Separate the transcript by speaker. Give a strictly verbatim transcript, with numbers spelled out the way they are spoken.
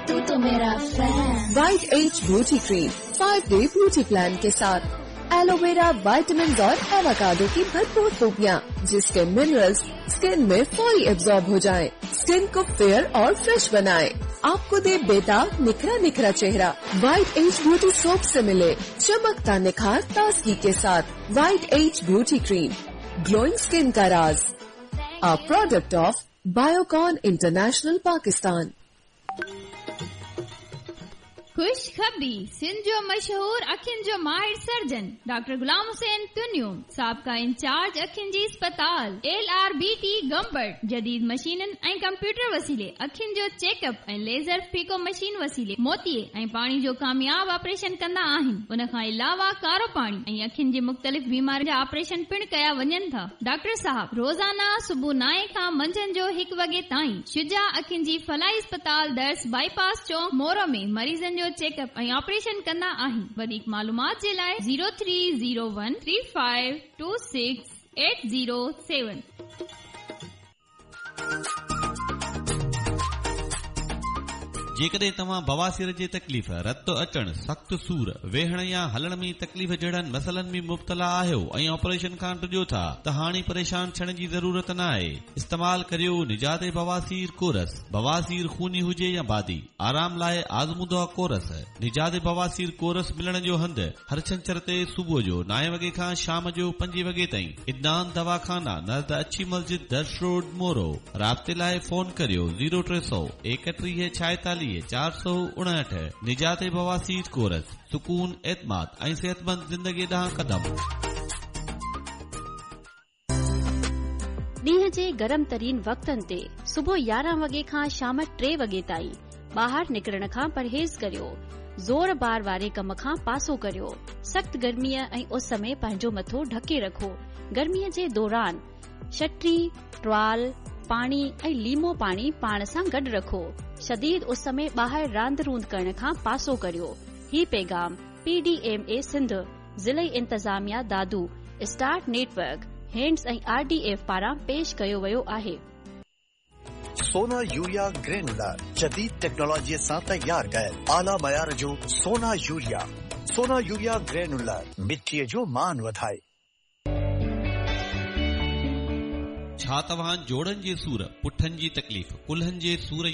Speaker 1: तू तो मेरा fan.
Speaker 2: White Age beauty cream five day beauty plan के साथ एलोवेरा, विटामिन और एवोकाडो की भरपूर खूबियाँ, जिसके मिनरल्स स्किन में फौरी एब्जॉर्ब हो जाएं, स्किन को फेयर और फ्रेश बनाए, आपको दे बेदाग निखरा निखरा चेहरा। वाइट एज ब्यूटी सोप से मिले चमकता निखार ताजगी के साथ। White Age beauty cream, glowing skin का राज, a product of Biocon International Pakistan.
Speaker 3: खुशखबरी, सिंध जो मशहूर अखियुनि जो माहिर सर्जन डॉक्टर गुलाम हुसैन तुनियो साबिक़ा इंचार्ज अखियुनि जी अस्पताल L R B T Gambat जदीद मशीननि ऐं कंप्यूटर वसीले अखियुनि जो चेकअप ऐं लेज़र फीको मशीन वसीले मोतीए ऐं पाणी जो कामयाब ऑपरेशन कंदा आहिनि। उन खां अलावा कारो पाणी ऐं अखियुनि जी मुख़्तलिफ़ बीमारियुनि जा ऑपरेशन पिणु कया वञनि था। डॉक्टर साहब रोज़ाना सुबुह नाए खां मंझंदि जो हिकु वॻे ताईं शुजा अखियुनि जी फलाई अस्पताल दर्स बाईपास चौक मोरो में मरीज़नि जो चेकअप ऐं ऑपरेशन कंदा आहिनि। वधीक मालूमात जे लाइ zero three zero one three five two six eight zero seven.
Speaker 4: जेकॾहिं तव्हां बवासीर जी तकलीफ़, रत अचण, सख़्तु सूर, वेहण या हलण में तकलीफ़ जहिड़नि मसइलनि में मुब्तला आहियो ऐं ऑपरेशन खां डिॼो था त हाणे परेशान थियण जी ज़रूरत न आहे। इस्तेमाल करियो निजात बवासीर कोरस। बवासीर खूनी हुजे या बादी, आराम लाइ आज़मूदो कोरस। निजात बवासीर कोरस मिलण जो हंधु हर छंछर ते सुबुह जो नाए वॻे खां शाम जो पंजे वॻे ताईं। इदनान दवाखाना नज़द अच्छी मस्जिद दर्श रोड मोरो। राब्ते लाइ फ़ोन करियो ज़ीरो टे सौ एकटीह छाएतालीह चार सौ उणहठ। निजात बवासीर कोरस, सुकून, एतमाद ऐं सेहतमंद ज़िंदगी ॾांहुं कदम।
Speaker 5: ॾींहं जे गरम तरीन वक़्तनि ते सुबुह यारहं वॻे खां शाम टे वॻे ताईं ॿाहिरि निकिरण खां परहेज़ करियो। ज़ोर बार वारे कम खां पासो करियो। सख़्त गर्मीअ ऐं उस में पंहिंजो मथो ढके रखो। गर्मीअ जे दौरान छटरी, टुआल, पाणी ऐं लीमो पाणी पाण सां गॾु रखो। शदीद उस में ॿाहिरि रांदि रूंद करण खां पासो करियो। ही पैगाम P D M A Sindh, ज़िलई इंतज़ामिया दादू, स्टार नेटवर्क, हैंड्स ऐं आर डी एफ पारां पेश कयो वियो आहे।
Speaker 6: सोना यूरिया ग्रेनुलर जदीद टेक्नोलॉजीअ सां तयार कयल आला मयार जो सोना यूरिया। सोना यूरिया ग्रेनुलर मिटीअ जो मान वधाए।
Speaker 4: छा तव्हां जोड़नि जे सूर, पुठनि जी तकलीफ़, कुल्हनि जे सूर